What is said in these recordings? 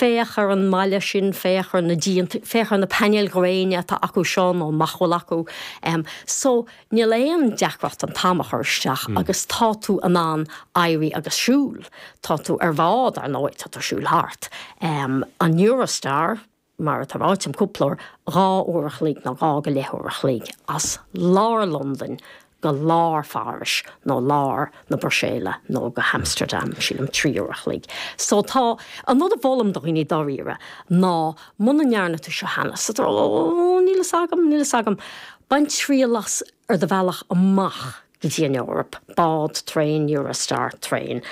Féach ar an mbaile sin, féach ar na díonta, féach ar na painéil ghréine atá acu seo nó nach bhfuil acu. So, níl aon deacracht an t-am a chur isteach agus tá tú in ann éirí agus siúl. Tá tú ar bhád, ar ndóigh, tá tú ag siúl thart. An Eurostar, mar atá ráite agam cúpla uair, 2 uair a chloig nó 2 go leith uair a chloig as lár Londain go lár Phárais nó lár na Bruiséile nó go hAmsterdam, sílim, 3 uair a chloig. So tá, an rud a mholaim do dhaoine dáiríre ná muna ndearna tú seo cheana, so ó níl fhios agam, níl fhios agam, bain triail as ar do bhealach amach go dtí an Eoraip, bád, traein, Eurostar, traein,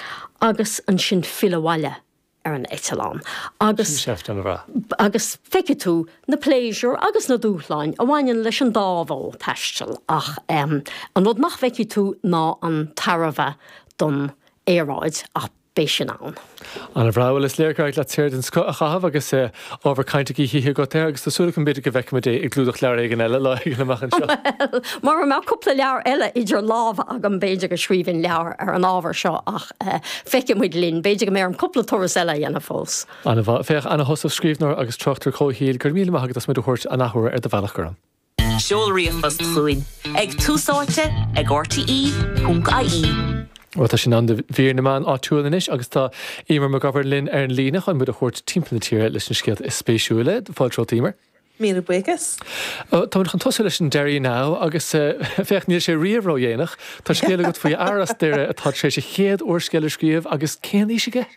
agus ansin fill abhaile ar an eitleán agus Sin seift an-bhreá. agus feicfidh tú na pléisiúir agus na dúshláin a bhaineann leis an dá mhodh taistil ach an rud nach bhfeicfidh tú ná an tairbhe don aeráid ach beidh sin ann. An-bhreá. Bhuel is léir gur éirigh leat saoire den scoth a chaitheamh agus ábhar cainte oíche oíche agat air agus tá súil agam b'fhéidir go bhfeicfimid é i gclúdach leabhar éigin eile lá éigin amach anseo. Bhuel, mura mbeadh cúpla leabhar eile idir lámha agam b'fhéidir go scríobhfainn leabhar ar an ábhar seo ach Feicfidh muid linn. B'fhéidir go mbeidh orm cúpla turas eile a dhéanamh fós. An-mhaith. Féach, Anna Heussaff, scríbhneoir agus tráchtaire comhshaoil, go raibh míle maith agat as muid a thabhairt an athuair ar do bhealach gorm. Seol ríomhphost chugainn ag túsáite ag rte.ie. Bhuel, tá sé in am do mhír na meán áitiúil anois agus tá Eimear Mac Gabhann linn ar an líne chun muid a thabhairt timpeall na tíre leis na scéalta is spéisiúla. Fáilte romhat, Eimear. Míle buíochas. Táimid chun tosú leis an Derry Now agus féach, níl sé riamh ródhéanach. Tá scéal agat faoi fhear as Doire atá tar éis a chéad úrscéal a scríobh agus cén aois aige?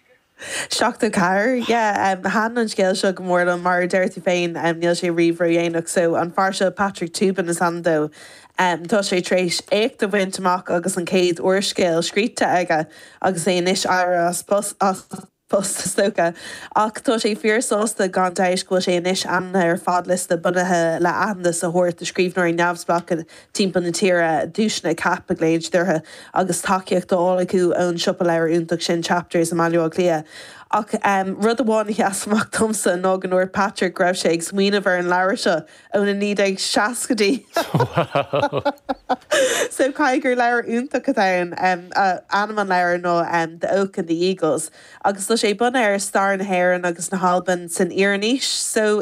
74, yeah. Thaitin an scéal seo go mór liom. Mar a deir tú féin, níl sé riamh ródhéanach. So, an fear seo, Patrick Toobin is ainm dó, tá sé tar éis éacht a bhaint amach agus an chéad úrscéal scríte aige agus é anois éirithe as post. post is dócha. Ach tá sé fíor-sásta gan dabht go bhfuil sé anois ainmnithe ar fadliosta bunaithe le aitheantas a thabhairt do scríbhneoirí neamhspleácha timpeall na tíre, duaiseanna CAP a ghlaonn siad orthu, agus tacaíocht á fháil acu ón siopa leabhar iontach sin Chapters i mBaile Átha Cliath. Ach rud amháin a sheas amach domsa ná go ndúirt Patrick go raibh sé ag smaoineamh ar an leabhar seo ó na 1960idí. So caithfidh gur leabhar iontach atá ann. Ainm an leabhair ná The Oak and the Eagles agus tá sé bunaithe ar stair na hÉireann agus na hAlban san Iarannaois. So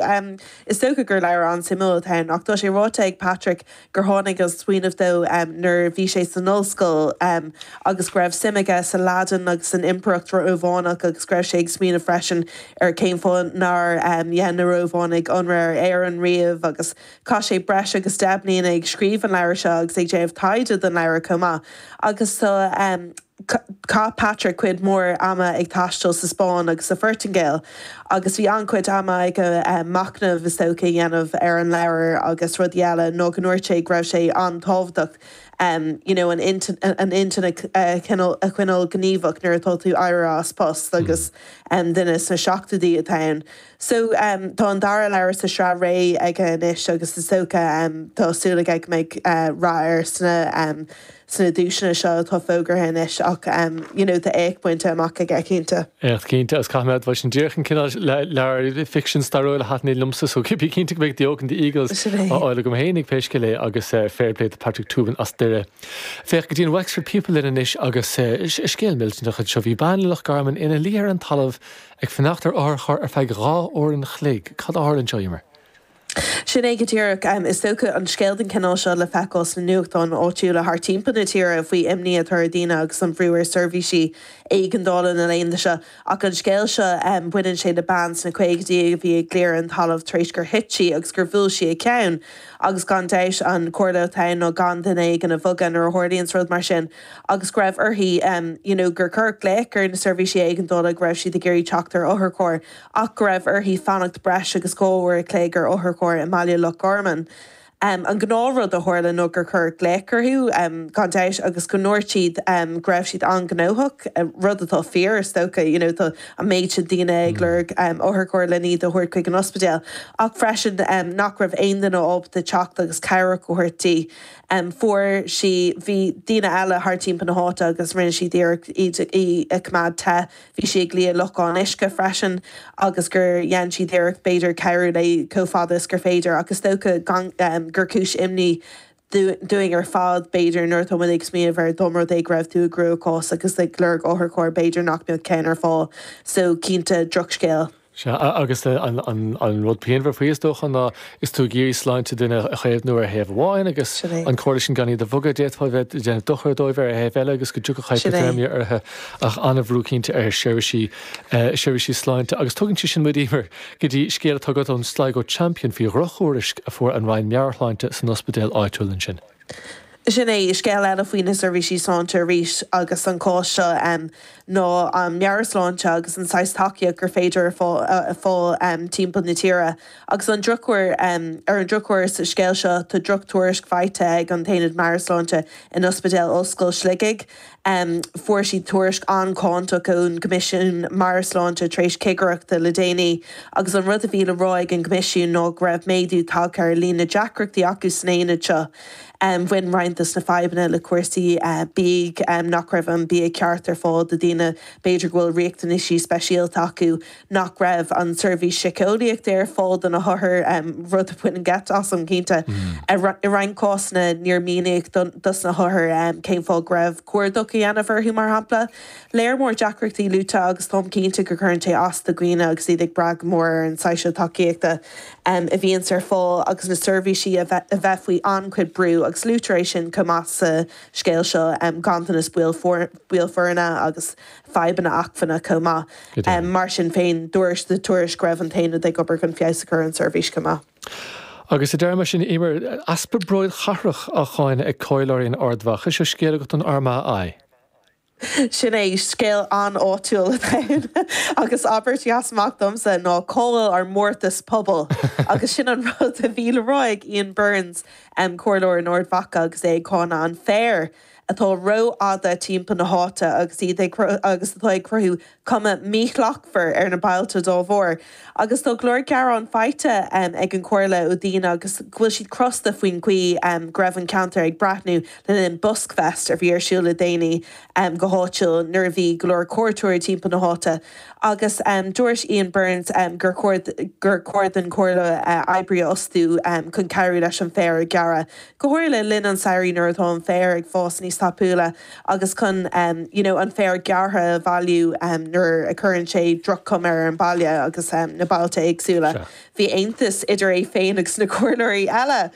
is dócha gur leabhar an-suimiúil atá ann ach tá sé ráite ag Patrick gur tháinig an smaoineamh dó nuair a bhí sé san ollscoil agus go raibh suim aige sa Laidin agus san Impireacht Rómhánach agus go raibh sé ag smaoineamh freisin ar cén fáth nár dhein na Rómhánaigh ionradh ar Éirinn riamh agus chaith sé breis agus 10 mbliana ag scríobh an leabhair seo agus ag déanamh taighde don leabhar chomh maith agus tá Chaith Patrick cuid mhór ama ag taisteal sa Spáinn agus sa Phortaingéil agus bhí an-chuid ama aige machnamh, is dócha, a dhéanamh ar an leabhar agus rudaí eile nó go ndúirt sé go raibh sé an-tábhachtach you know an intinn a choinneáil gníomhach nuair atá tú éirithe as post agus duine sna seachtóidí atá ann. So tá an dara leabhar sa sraith réidh aige anois agus is dócha tá súil aige go mbeidh rath air sna sna duaiseanna seo atá fógartha anois ach you know tá éacht bainte amach aige cinnte. Éacht cinnte agus caithfidh mé a admháil sin díreach an cineál leabhar ficsean stairiúil a thaitníonn liomsa so bí cinnte go mbeidh The Oak and the Eagles á fháil agam fhéinig pé scéal é agus fair play do Patrick Toobin as Doire. Féach go dtí an Wexford People linn anois agus scéal millteanach anseo. Bhí bean i Loch Garman ina luí ar an talamh ag fanacht ar otharcharr ar feadh 2 uair an chloig. Cad a tharla anseo, Emer? Sin é go díreach. Is dócha an scéal den chineál seo le feiceáil sna nuachtáin áitiúla thart timpeall na tíre faoi imní atá ar dhaoine agus an bhrú ar seirbhísí éigeandála na laethanta seo. Ach an scéal seo, baineann sé le bean sna caogaidí a bhí ag luí ar an talamh tar éis gur thit sí agus gur bhuail sí a ceann. Agus gan dabht an comhairle atá ann ná gan duine éigin a bhogadh nuair a tharlaíonns rud mar sin agus go raibh uirthi you know gur cuireadh glaoch ar na seirbhísí éigeandála go raibh siad ag iarraidh teacht ar otharcharr. ach go raibh uirthi fanacht breis agus 2 uair a chloig ar otharcharr i mbaile Loch Garman. An gnáthrud a tharla ná gur cuireadh glaoch orthu, gan dabht, agus go ndúirt siad go raibh siad an-ghnóthach, rud atá fíor, is dócha, you know, tá an méid sin daoine ag lorg otharcharr lena iad a thabhairt chuig an ospidéal, ach freisin nach raibh aon duine ábalta teacht agus cabhrach a thabhairt di. Fuair sí, bhí daoine eile thart timpeall na háite agus rinne siad iarracht iad, í a choimeád te. Bhí sí ag luí i lochán uisce freisin agus gur dhein siad iarracht b'fhéidir cabhrú léi chomh fada is gur féidir ach is dócha gur cúis imní dúinn ar fad b'fhéidir nuair atá muid ag smaoineamh air dá mba rud é go raibh tú i gcruachás agus ag lorg otharchairr b'fhéidir nach mbeadh ceann ar fáil so cinnte drochscéal. Sea, agus an rud pianmhar faoi is dócha ná is tú ag iarraidh sláinte duine a chaomhnú ar thaobh amháin agus an comhairle sin gan iad a bhogadh, d'fhéadfá a bheith ag déanamh dochair dóibh ar thaobh eile agus go dtiocfadh hypothermia orthu ach an-bhrú cinnte ar sheirbhísí seirbhísí sláinte. Agus tugann sé sin muid, Emer, go dtí scéal atá agat ón Sligo Champion faoi dhrochthuairisc a fuair an Roinn Meabhairshláinte san ospidéal áitiúil ansin. Sin é, scéal eile faoi na seirbhísí sláinte arís agus an cás seo ná an meabhairshláinte agus an saghas tacaíocht gur féidir a fáil timpeall na tíre. Agus an drochuair, ar an drochuair sa scéal seo tá drochthuairisc faighte ag an tAonad Meabhairshláinte in Ospidéal Ollscoil Shligigh. Fuair siad tuairisc an-cháinteach ón gCoimisiún Meabhair-Shláinte tar éis cigireachta le déanaí agus an rud a bhí le rá ag an gCoimisiún ná go raibh méadú tagtha ar líon na deacrachtaí acu san aonad seo. Bhain roinnt dos na fadhbanna le cúrsaí bídh, nach raibh an bia ceart ar fáil do dhaoine b'fhéidir go bhfuil riachtanaisí speisialta acu, nach raibh an tseirbhís síceolaíochta ar fáil do na hothair, rud a bhaineann geit asam, cinnte. I roinnt cásanna, níor míníodh dos na hothair cén fáth go raibh cuardach á dhéanamh orthu, mar shampla. Léar mór deacrachtaí luaite agus táim cinnte go gcuireann sé as do dhaoine agus iad ag brath go mór ar an saghas seo tacaíochta a bhíonns ar fáil agus na seirbhísí a bheith faoi an-chuid brú agus luaitear é sin chomh maith sa scéal seo, ganntanas baill foirne agus fadhbanna acmhainne chomh maith. Mar sin féin, dúirt sa tuairisc go raibh an t-aonad ag obair chun feabhas a chur ar an tseirbhís chomh maith. Agus sa deireadh mar sin, Emer, easpa bróid chathrach á cháineadh ag comhairleoirí in Ard Mhacha. Seo scéal agat don Armagh Eye. Sin é, scéal an-áitiúil atá ann agus abairt a sheas amach domsa ná cá bhfuil ár mórtas pobail? Agus sin an rud a bhí le rá ag Ian Burns, comhairleoir in Ard Mhacha agus é ag cáineadh an féar atá rófhada timpeall na háite agus iad ag agus atá ag cruthú cuma mhíshlachtmhar ar na bailte dá bharr. Agus tá go leor gearán faighte ag an Chomhairle ó dhaoine agus go bhfuil siad crosta faoin gcaoi go raibh an ceantar ag breathnú le linn Buskfest a bhí ar siúl le déanaí go háitiúil nuair a bhí go leor cuairteoirí timpeall na háite. Agus dúirt Ian Burns gur chóir gur chóir don Chomhairle oibrí a fhostú chun cabhrú leis an bhféar a ghearradh, go háirithe le linn an tsamhraidh nuair atá an féar ag fás níos tapúla agus chun you know an féar gearrtha a bhailiú nuair a chuireann sé droch-chuma ar an baile agus na bailte éagsúla. Bhí aontas idir é féin agus na comhairleoirí eile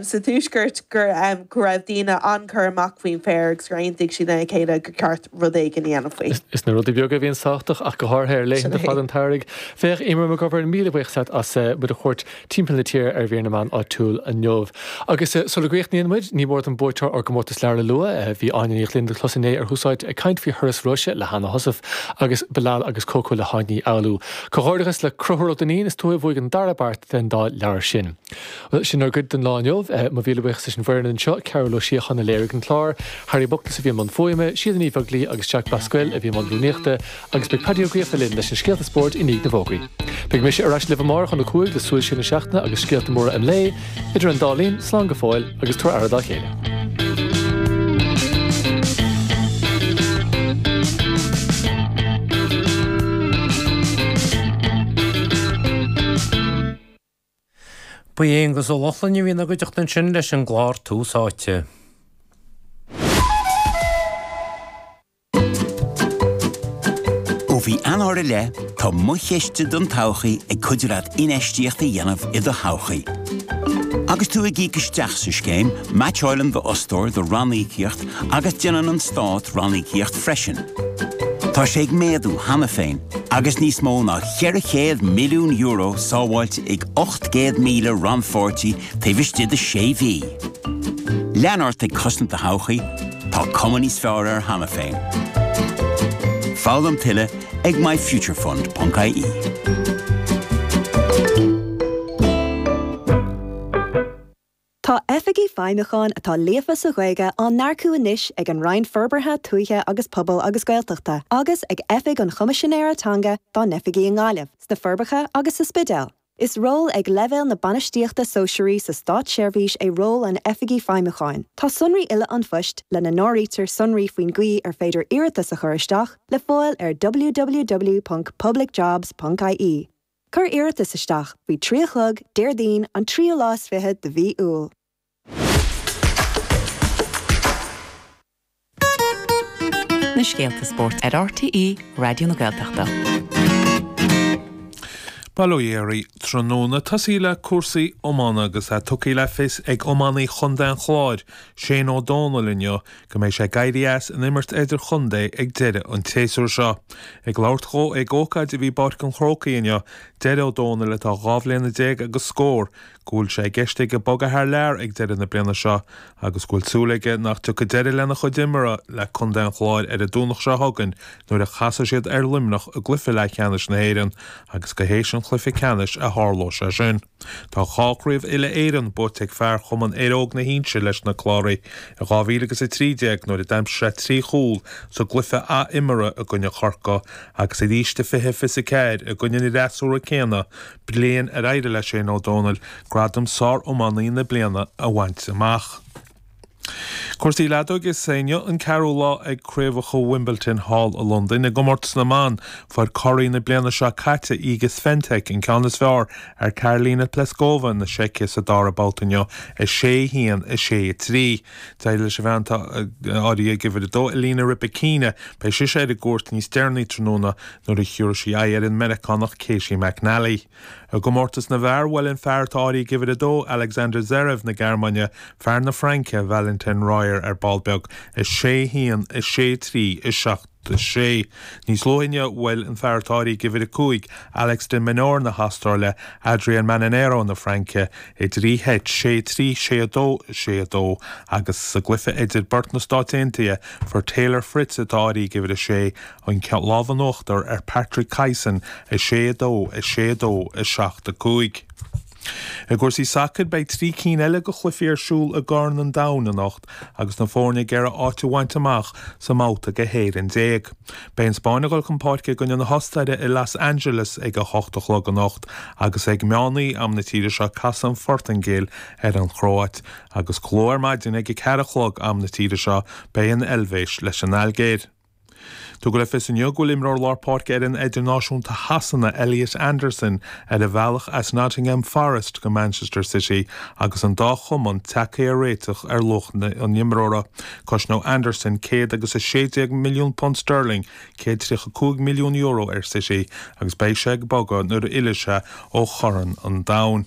sa tuaisceart go go raibh daoine an-chur amach faoin bhféar agus gur aontaigh siad lena chéile gur ceart rud éigin a dhéanamh faoi. Is na rudaí beaga a bhíonn tábhachtach ach go háirithe ar laethanta fada an tsamhraidh. Féach, Emer McGovern, míle buíochas leat as muid a thabhairt timpeall na tíre ar mhír na meán áitiúil inniu. Agus sula gcríochnaíonn muid, ní mór dom buaiteoir ár gcomórtas leabhar a lua. Bhí Áine Ní Ghlinn le clos inné ar Thús Áite ag caint faoi Thuras Róise le hAnna Heussaff agus Bilal agus Coco le hÁine Ní Fhoghlú. Comhghairdeachas le Conchúr Ó Duinnín, is tú a bhuaigh an dara beart den dá leabhar sin. Bhuel, sin ár gcuid don lá inniu. Mo mhíle buíochas leis an bhfoireann anseo, Cearbhall Ó Síocháin a léirigh an clár, Harry Buckless a bhí i mbun fuaime, Síle Ní Bheaglaoi agus Jack Basquel a bhí i mbun rúnaíochta, Agus beidh Paddy Ó Gríofa linn leis na scéalta spóirt i ndiaidh na bhfógraí. Beidh mise ar ais libh amárach óna 5 le súil siar na seachtaine agus scéalta móra an lae. Idir an dá linn, slán go fóill agus tabhair aire dá chéile. Ba é Aonghus Ó Lochlainn a bhí ina gcuideachta ansin leis an gclár Tús Áite. Ó mhí Eanáir i leith, tá Mo Chiste don Todhchaí ag cuidiú leat infheistíocht a dhéanamh i do thodhchaí. Agus tú ag íoc isteach sa scéim, meaitseáileann d'fhostóir do ranníocaíocht agus déanann an Stát ranníocaíocht freisin. Tá sé ag méadú cheana féin agus níos mó ná €400 milliún sábháilte ag 800,000 rannpháirtí taobh istigh de sé mhí. Lean ort ag cosaint do thodhchaí, tá cuma níos fearr air cheana féin. Foghlaim tuilleadh ag myfuturefund.ie. Tá Oifigigh Feidhmiúcháin atá líofa sa Ghaeilge á n-earcú anois ag an Roinn Forbartha Tuaithe agus Pobail agus Gaeltachta agus ag Oifig an Choimisinéara Teanga dá n-oifigí i nGaillimh, sna Forbacha agus sa Spidéal. Is ról ag leibhéal na bainistíochta sóisearaí sa státseirbhís é ról an Oifigigh Feidhmiúcháin. Tá sonraí uile an phoist, lena n-áirítear sonraí faoin gcaoi ar féidir iarratas a chur isteach, le fáil ar www.publicjobs.ie. Cuir iarratas isteach faoi 3 a chlog, Déardaoin, an tríú lá is fiche de mhí Iúil. Na scéalta spóirt ar RTÉ Raidió na Gaeltachta. Bail ó Dhia oraibh tráthnóna. Tosaí le cúrsaí iomána agus é tugtha le fios ag iománaí Chontae an Chláir, Shane Ó Dónaill inniu go mbeidh sé ag éirí as an imirt idirchontae ag deireadh an tséasúir seo. Ag labhairt dhó ag ócáid a bhí i bPáirc an Chrócaigh inniu, deir Ó Dónaill, atá 12 bhliana agus scór, go bhfuil sé i gceist aige bogadh thar lear ag deireadh na bliana seo agus go bhfuil súil aige nach dtiocfaidh deireadh lena chuid imeartha le contae an Chláir ar an Domhnach seo chugainn nuair a chasfaidh siad ar Luimneach i gcluiche leathcheannais na hÉireann agus go théis an chluiche ceannais a tharlóidh sé sin. Tá 2 chraobh uile-Éireann buaite ag fear Chumann Aer Óg na hInse leis na Cláraigh i 2013 nuair a d'aimsigh sé 3 chúl sa gcluiche ath-imeartha i gcoinne Chorcaí agus arís i 2024 i gcoinne an fhreasúra céanna bliain ar éirigh le Shane Ó Dónaill gradam Sár-Iománaí na Bliana a bhaint amach. Cúrsaí leadóige Is é inniu an ceathrú lá ag Craobhacha Wimbledon thall i Londain. I gcomórtas na mban, fuair curaidh na bliana seo caite, Iga Swiatek, an ceann is fearr ar Karolina Pliskova na Seice sa dara babhta inniu, 6, 1, 6, 3. D'éirigh leis an bhean atá áirithe ag uimhir 2, Elena Rybakina, beidh sise ar an gcúirt níos deireanaí tráthnóna nuair a thiúrfaidh sí aghaidh ar an Meiriceánach Caty McNally. I gcomórtas na bhfear, bhuail an fear atá áirithe ag uimhir 2, Alexander Zverev na Gearmáine, fear na Fraince, Valentin Royer ar ball beag, 6, 1, 6, 3, 7, 6. Níos luaithe inniu, bhuail an fear atá áirithe ag uimhir 5, Alex de Minaur na hAstráile, Adrian Manarino na Fraince, i dtrí sheit, 6, 3, 6, 2, 6, 2, agus sa gcluiche idir beirt na Stáit Aontaithe, fuair Taylor Fritz, atá áirithe ag uimhir 6, an lámh in uachtar ar Patrick Kyson, 6, 2, 6, 2, 7, 5. I gcúrsaí sacair, beidh 3 cinn eile de chluichí ar siúl i gCorn an Domhain anocht agus na foirne ag iarraidh áit a bhaint amach sa mbabhta go 11 éireann. Beidh an Spáinn ag dul chun páirce i gcoinne na hOstaire i Los Angeles ag a 8 a chlog anocht agus ag meán oíche am na tíre seo casfaidh an Phortaingéil ar an Chróit agus go luath ar maidin ag a 4 a chlog am na tíre seo beidh an Eilvéis leis an Ailgéir. Tugadh le fios inniu go bhfuil imreoir lár páirce fhoireann idirnáisiúnta Shasana, Elliot Anderson, ar a bhealach as Nottingham Forest go Manchester City agus an dá chumann tagtha ar réiteach ar luach an imreora. Cosnóidh Anderson £116 milliún sterling, €135 milliún, ar City agus beidh sé ag bogadh nuair a fhillfidh sé ó Chorn an Domhain.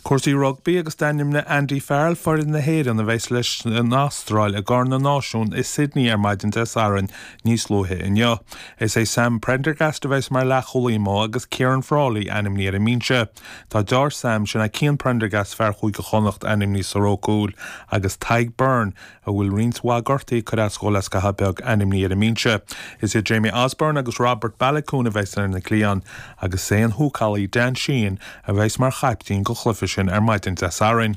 Cúrsaí rugbaí agus d'ainmnigh Andy Farrell foireann na hÉireann a bheas leis an Astráil i gCorn na Náisiún i Sydney ar maidin Dé Sathairn níos luaithe inniu. Is é Sam Prendergast a bheas mar leathchúlaí amuigh agus Ciaran Frawley ainmnithe ar an mbinse. Tá deartháir Sam, sin é Cian Prendergast, fear Chúige Chonnacht, ainmnithe sa ró cúil agus Tadhg Beirne, a bhfuil roinnt mhaith gortuithe ag cur as dhó le scaitheamh beag, ainmnithe ar an mbinse. Is iad Jamie Osborne agus Robert Baloucoune a bheas ar na cliatháin agus is é an húcálaí Dan Sheehan a bheas mar chaiptín don chluiche sin ar maidin Dé Sathairn.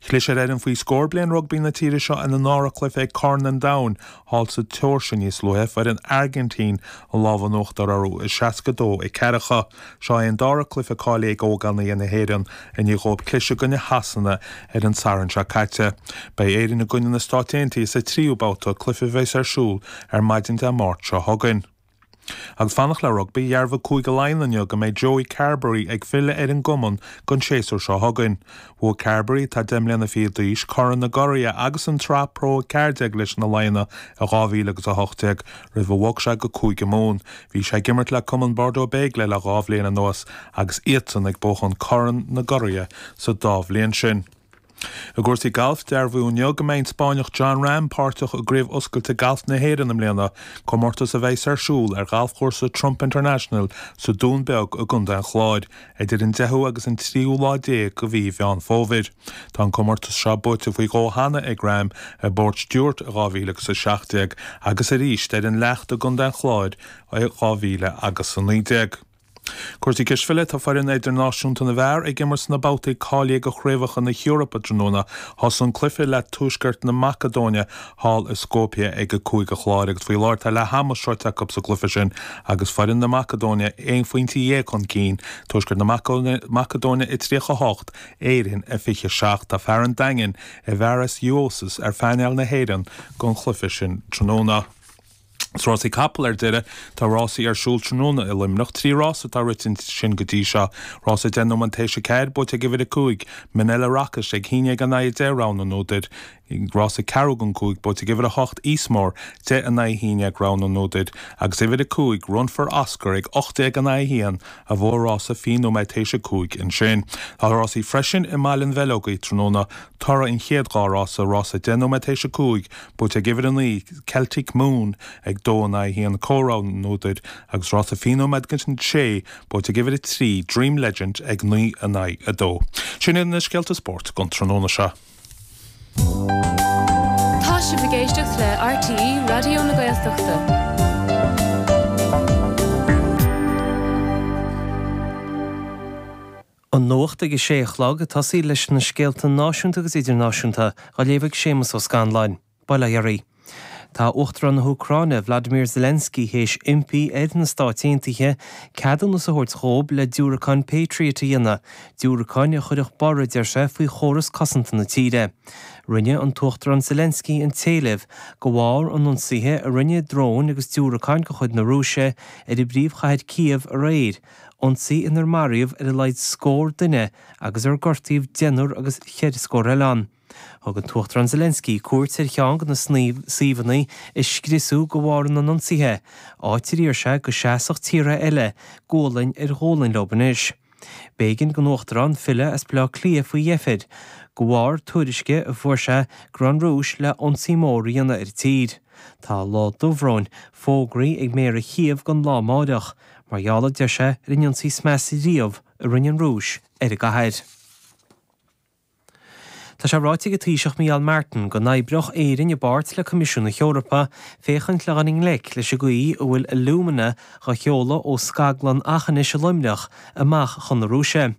Chlis ar fhoireann faoi scór bliain rugbaí na tíre seo ina ndara cluiche ag Corn an Domhain thall sa tSeoirsia níos luaithe, fuair an Airgintín an lámh in uachtar orthu, 62 ceathracha. Seo é an dara cluiche cáilithe ag ógánaigh na hÉireann i ndiaidh dhóibh cliseadh i gcoinne Shasana ar an Satharn seo caite. Beidh Éirinn i gcoinne na Stáit Aontaithe sa tríú babhta, cluiche a bheas ar siúl ar maidin Dé Máirt seo chugainn. Agus fanacht le rugbaí, dhearbhaigh Cúige Laighean inniu go mbeidh Joey Carbery ag filleadh ar an gcumann don séasúr seo chugainn. Bhuaigh Carbery, atá 10 mbliana fichead d'aois, Corn na gCuraithe agus an tSraith Pro 14 leis na Laigheanaigh i 2018 roimh a bhog sé go Cúige Mumhan. Bhí sé ag imirt le cumann Bordeaux-Bègles le 2 bhliain anuas agus iadsan ag buachan Corn na gCuraithe sa dá bhliain sin. I gcúrsaí gailf, dearbhaíodh inniu go mbeidh an Spáinneach Jon Rahm páirteach i gCraobh Oscailte Gailf na hÉireann i mbliana, comórtas a bheas ar siúl ar ghalfchúrsa Trump International sa Dún Beag i gContae an Chláir idir an 10ú agus an tríú lá déag de mhí Mheán Fómhair. Tá an comórtas seo buaite faoi dhó cheana ag Rahm, i bPort Stewart i 2017 agus arís ar an Leacht i gContae an Chláir i 2019. Cúrsaí cispheile, Tá foireann idirnáisiúnta na bhfear ag imirt sna babhtaí cáilithe do Chraobhacha na hEorpa tráthnóna. Thosaigh an cluiche le Tuaisceart na Macadóine thall i Skopje ag a 5 a chlog agus faoi láthair tá leath ama sroichte acu sa gcluiche sin agus foireann na Macadóine aon phointe dhéag chun cinn, Tuaisceart na Macadóine a 38, Éirinn a 27. Tá fear an Daingin, Aivaras Uosis, ar phainéal na hÉireann don chluiche sin tráthnóna. Sna rásaí capall ar deireadh, tá rásaí ar siúl tráthnóna i Luimneach. 3 rás atá rite ansin go dtí seo. Rás 10 nóiméad théis 4, buaite ag uimhir 5, Minella Rocket, ag 11 in aghaidh 10, rogha na n-údar. Rás ceathrú don 5, buaite ag uimhir 8, Eastmore, 10 in aghaidh 11, rogha na n-údar. Agus uimhir 5, Run for Oscar, ag 18 in aghaidh 1, a bhuaigh rása 20 nóiméad théis 5 ansin. Tá rásaí freisin i mBaile an Bheileogaigh tráthnóna. Toradh an chéad dhá rása, rás 10 nóiméad théis 5, Buaite ag uimhir 9, Celtic Moon, ag 2 in aghaidh 1, comhrogha na n-údar, agus rása 20 nóiméad go 6, buaite ag uimhir 3, Dream Legend, ag 9 in aghaidh 2. Sin iad na scéalta spóirt don tráthnóna seo. Tá sibh ag éisteacht le RTÉ Raidió na Gaeltachta. An nuacht ag a sé a chlog, ag tosaí leis na scéalta náisiúnta agus idirnáisiúnta, á léamh ag Séamus Ó Scanláin. Bail ó Dhia oraibh. Tá Uachtarán na hÚcráine, Vladimir Zelensky, théis impí ar na Stáit Aontaithe ceadúnas a thabhairt dhóib le diúracáin Patriot a dhéanamh, diúracáin a chuirfeadh borradh, a deir sé, faoi chóras cosanta na tíre. Rinne an tUachtarán Zelensky an t-éileamh de bharr an ionsaithe a rinne dróin agus diúracáin de chuid na Rúise ar an bpríomhchathair Cív aréir, ionsaí inar maraíodh ar a laghad scór duine agus ar gortaíodh deichniúr agus cheithre scór eile ann. Thug an tUachtarán Zelensky cuairt ar cheann de na suíomhanna a scriosadh de bharr na n-ionsaithe, áit ar iarr sé go seasfadh tíortha eile gualainn ar ghualainn leo anois. B'éigean don Uachtarán filleadh as Baile Átha Cliath faoi dheifir, de bharr tuairisce a fuair sé go raibh an Rúis le ionsaí mór a dhéanamh ar an tír. Tá lá dubhbhróin fógraithe ag Méara Chív don lá amáireach, Mar gheall, a deir sé, ar an ionsaí is measa riamh a rinne an Rúis ar an gcathair. Tá sé ráite ag an Taoiseach Micheál Martin go n-oibreodh Éirinn i bpáirt le Coimisiún na hEorpa féachaint le dhul i ngleic leis an gcaoi a bhfuil alumina dhá sheoladh ó scaglann Aughinish i Luimneach amach chun na Rúise.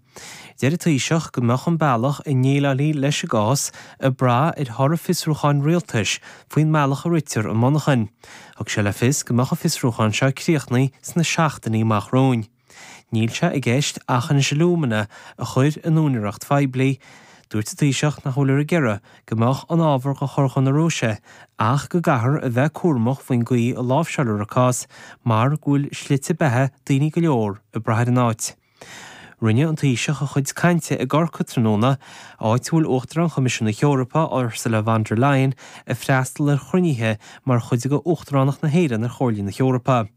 Deir an Taoiseach go mbeadh an bealach a ndéileálfaí leis an gcás ag brath ar thoradh fiosrúcháin rialtais faoin mbealach a ritear an mhonarchain. Thug sé le fios go mbeadh an fiosrúchán seo críochnaithe sna seachtainí amach romhainn. Níl sé i gceist Aughinish Alumina a chur in úinéireacht phoiblí. Dúirt an Taoiseach nach bhfuiltear ag iarraidh go mbeadh an ábhar á chur chun na Rúise ach go gcaithfear a bheith cúramach faoin gcaoi a láimhseáiltear an cás mar go bhfuil slite beatha daoine go leor ag brath ar an áit. Rinne an Taoiseach a chuid cainte i gCorcaigh tráthnóna, áit a bhfuil Uachtarán Choimisiún na hEorpa, Ursula von der Leyen, ag freastal ar chruinnithe mar chuid de Uachtaránacht na hÉireann ar Chomhairle na hEorpa.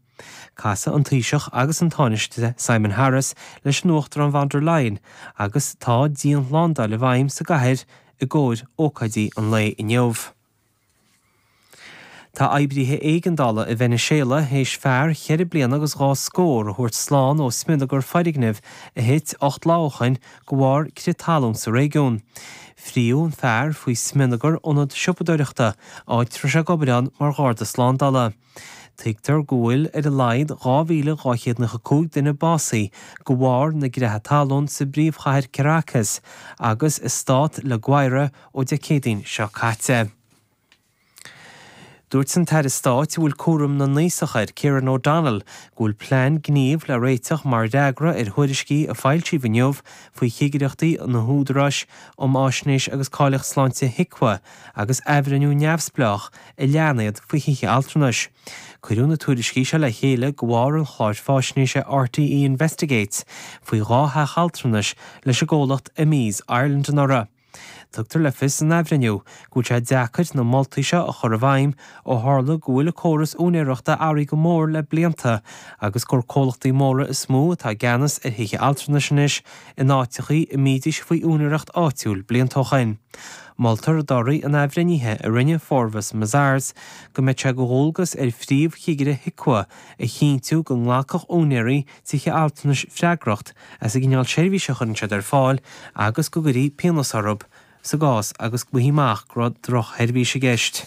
Casfaidh an Taoiseach agus an Tánaiste Simon Harris leis an Uachtarán von der Leyen agus tá dianshlándáil i bhfeidhm sa gcathair i gcomhair ócáidí an lae inniu. Tá oibrithe éigeandála i Veiniséala théis fear cheithre bliana agus dhá scór a thabhairt slán ó smionagar foirgnimh a thit 8 lá ó shoin de bharr crith talún sa réigiún. Fríodh an fear faoi smionagar ionad siopadóireachta, áit a raibh sé ag obair ann mar gharda slándála. Tuigtear go bhfuil ar a laghad 2,295 duine básaithe de bharr na gcreatha talún sa bpríomhchathair Caracas agus i stát La Guaira ó Dé Céadaoin seo caite. Dúirt an tAire Stáit a bhfuil cúram na n-aosach air, Kieran O'Donnell, go bhfuil plean gnímh le réiteach mar fhreagra ar thuairiscí a foilsíodh inniu faoi chigireachtaí an Údaráis um Fháisnéis agus Cáilíocht Sláinte HIQA agus athbhreithniú neamhspleách a lean iad faoi thithe altranais. Cuireadh na tuairiscí seo le chéile de bharr an chláir fáisnéise RTÉ Investigates faoi dhá theach altranais leis an gcomhlacht Amis Ireland anuraidh. Tugtar le fios san athbhreithniú go bhfuil sé deacair na moltaí seo a chur i bhfeidhm ó tharla go bhfuil an córas úinéireachta athraithe go mór le blianta agus gur comhlachtaí móra is mó atá i gceannas ar thithe altranais anois in áiteachaí a mbídís faoi úinéireacht áitiúil blianta ó shoin. Moltar i dtorthaí an athbhreithnithe a rinne Forvis Mazars go mbeadh sé de dhualgas ar phríomh-chigire HIQA a chinntiú go nglacfadh úinéirí tithe altranais freagracht as an gcineál seirbhíse a chuireann siad ar fáil agus go gcuirfí pionós orthu sa gcás agus go bhfaighfí amach go raibh drochsheirbhís i gceist.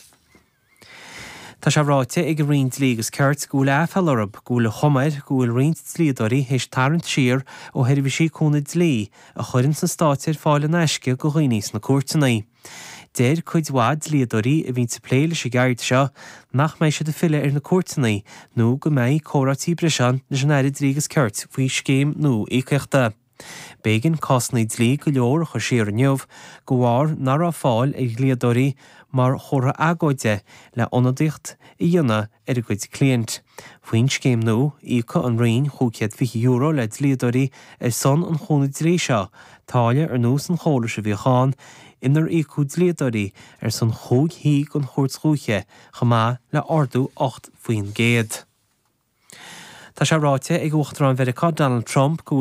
Tá sé ráite ag an Roinn Dlí agus Cirt go bhfuil aiféala orthu go bhfuil an chuma air go bhfuil roinnt dlíodóirí théis tarraingt siar ó sheirbhísí cúnamh dlí a chuireann an Stát ar fáil in aisce do dhaoine sna cúirteanna. Deir cuid mhaith dlíodóirí a bhíonns ag plé leis an gceird seo nach mbeidh siad ag filleadh ar na cúirteanna nó go mbeidh comhráití breise ann leis an Aire Dlí agus Cirt faoi scéim nua íocaíochta. B'éigean cásanna dlí go leor a chur siar inniu de bharr nach raibh fáil ar dhlíodóirí mar chomhartha agóide le ionadaíocht a dhéanamh ar a gcuid cliaint. Faoin scéim nua, íocfaidh an Roinn €520 le dlíodóirí ar son an chúnaimh dlí seo, táille ar nós an chórais a bhíodh ann inar íocadh dlíodóirí ar son chúig shuí den Chúirt Dhúiche, chomh maith le ardú 8%. Tá sé ráite ag Uachtarán Mheiriceá Donald Trump go bhfuil.